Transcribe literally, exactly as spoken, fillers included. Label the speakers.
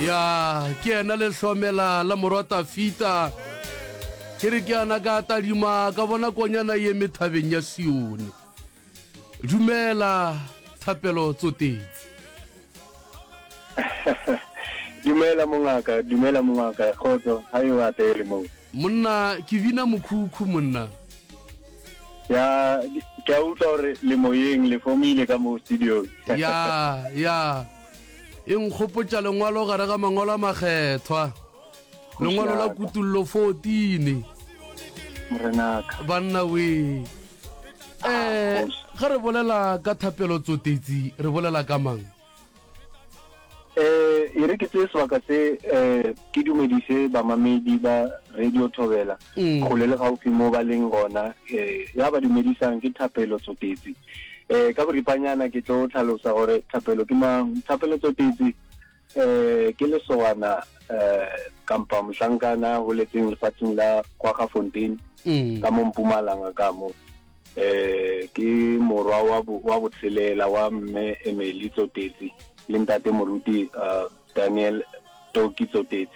Speaker 1: Ya, ke yena lehlomela la morwa Tafita. Ke re ke ana ka tadima ka bona konyana ye eme thabeng ya Sione. Dumela Thapelo Tsotetsi.
Speaker 2: Dumela mongaka, dumela mongaka, kgotso, ha e o atele moo.
Speaker 1: Monna, ke bina mokhukhu monna.
Speaker 2: Ya, ke a utlwa gore le moyeng, le fomile ka mo studio.
Speaker 1: Ya, ya. E nkgopotša lengwalo gare ga mangwalo a makgethwa. Lengwalo la Kutullo fourteen.
Speaker 2: Morenaka.
Speaker 1: Banna we. Eh, ge re bolela ka Thapelo Tsotetsi, re bolela ka mang?
Speaker 2: Eh, e re ke tseye sebaka se eh ke dumedise bamamedi ba Radio Thobela mm. kgole le gaufi mo ba leng gona. eh ya ba dumedisang ke Thapelo Tsotetsi. eh ka boripanyana ke tlo tlhalosa gore Thapelo ke mang. Thapelo Tsotetsi eh ke lesogana eh kampa mohlankana holetseng lefatsheng la Kwaggafontein mm. ka mo Mpumalanga ka mo. eh ke morwa wa wa botshelela wa mme Emily Tsotetsi le ntate moruti uh, Daniel Toki Tsotetsi.